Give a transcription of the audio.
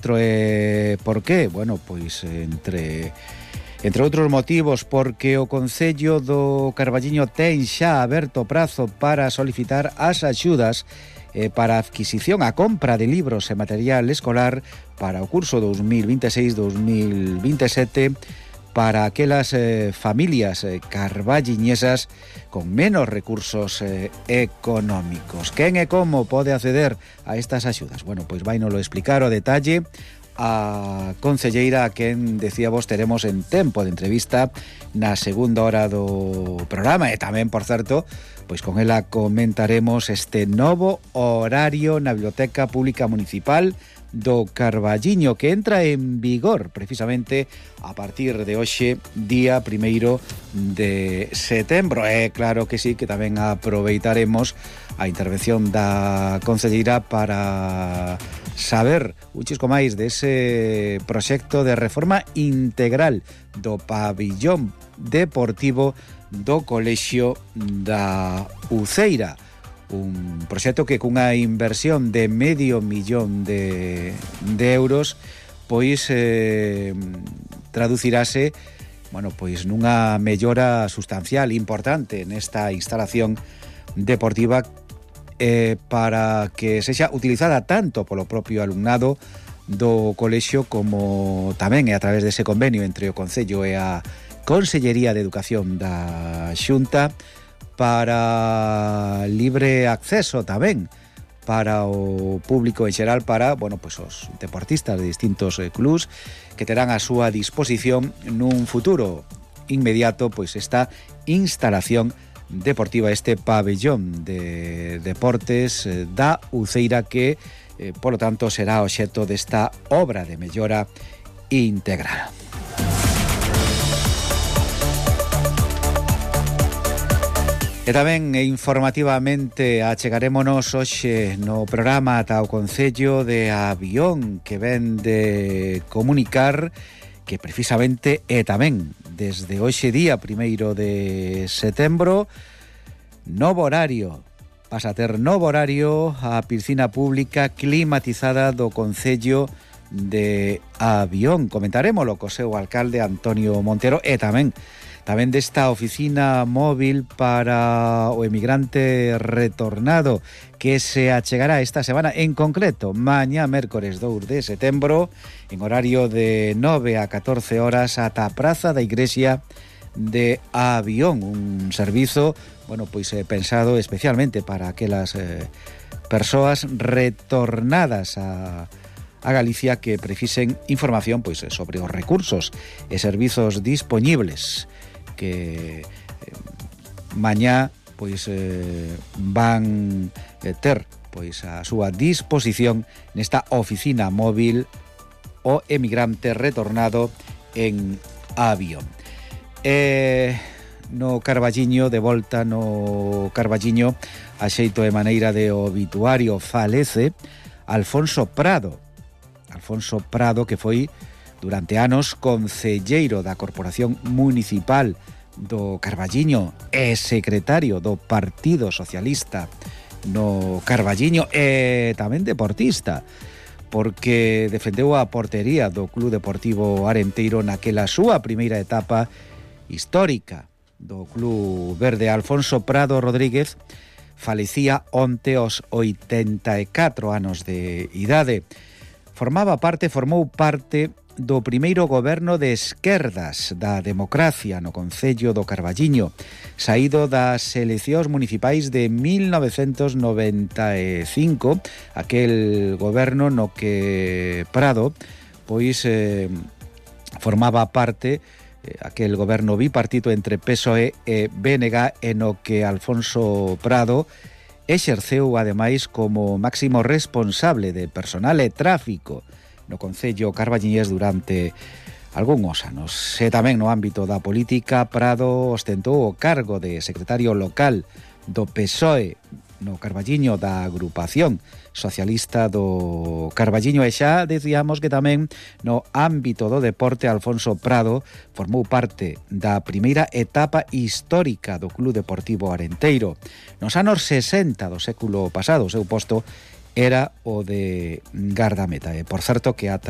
sinistro. Por qué? Bueno, pois entre outros motivos, porque o Concello do Carballiño ten xa aberto prazo para solicitar as axudas para a adquisición, a compra de libros e material escolar para o curso 2026-2027 para aquelas familias carballiñesas con menos recursos económicos. Quen e como pode acceder a estas axudas? Bueno, pois vai nolo explicar o detalle a concelleira a quen decíamos teremos en tempo de entrevista na segunda hora do programa, e tamén, por certo, pois con ela comentaremos este novo horario na Biblioteca Pública Municipal do Carballiño, que entra en vigor precisamente a partir de hoxe, día 1º de setembro. Claro que sí, que tamén aproveitaremos a intervención da concelleira para saber un chisco máis dese proxecto de reforma integral do pabillón deportivo do Colexio da Uceira. Un proxecto que cunha inversión de $500,000 de euros pois traducirase, bueno, pois nunha mellora sustancial importante nesta instalación deportiva para que sexa utilizada tanto polo propio alumnado do colexio como tamén a través dese convenio entre o Concello e a Consellería de Educación da Xunta, para libre acceso tamén para o público en xeral, para, bueno, pois os deportistas de distintos clubs que terán a súa disposición nun futuro inmediato pois esta instalación deportiva, este pabellón de deportes da Uceira, que polo tanto será obxecto desta obra de mellora integral. E tamén informativamente achegarémonos hoxe no programa ata o Concello de Avión, que ven de comunicar que precisamente e tamén desde hoxe día 1º de setembro novo horario, pasa a ter novo horario a piscina pública climatizada do Concello de Avión. Comentarémolo co seu alcalde Antonio Montero, e tamén desta oficina móvil para o emigrante retornado que se achegará esta semana, en concreto mañá mércores 2 de setembro, en horario de 9 a 14 horas ata a Praza da Igrexa de Avión, un servizo, bueno, pois pensado especialmente para aquelas persoas retornadas a Galicia que precisen información pois sobre os recursos e servizos dispoñibles que mañá pois van ter pois a súa disposición nesta oficina móvil o emigrante retornado en Avión. No Carballiño, de volta no Carballiño, a xeito de maneira de obituario, falece Alfonso Prado, que foi durante anos concelleiro da Corporación Municipal do Carballiño e secretario do Partido Socialista no Carballiño, e tamén deportista, porque defendeu a portería do Club Deportivo Arenteiro naquela súa primeira etapa histórica do Club Verde. Alfonso Prado Rodríguez falecía onte aos 84 anos de idade. Formou parte do primeiro goberno de esquerdas da democracia no Concello do Carballiño, saído das eleccións municipais de 1995, aquel goberno no que Prado pois formaba parte, aquel goberno bipartito entre PSOE e BNG, e no que Alfonso Prado exerceu ademais como máximo responsable de personal e tráfico no Concello carballiñés durante algúns anos. E tamén no ámbito da política, Prado ostentou o cargo de secretario local do PSOE no Carballiño, da agrupación socialista do Carballiño, e xa decíamos que tamén no ámbito do deporte Alfonso Prado formou parte da primeira etapa histórica do Club Deportivo Arenteiro. Nos anos 60 do século pasado, o seu posto era o de gardameta. E por certo que ata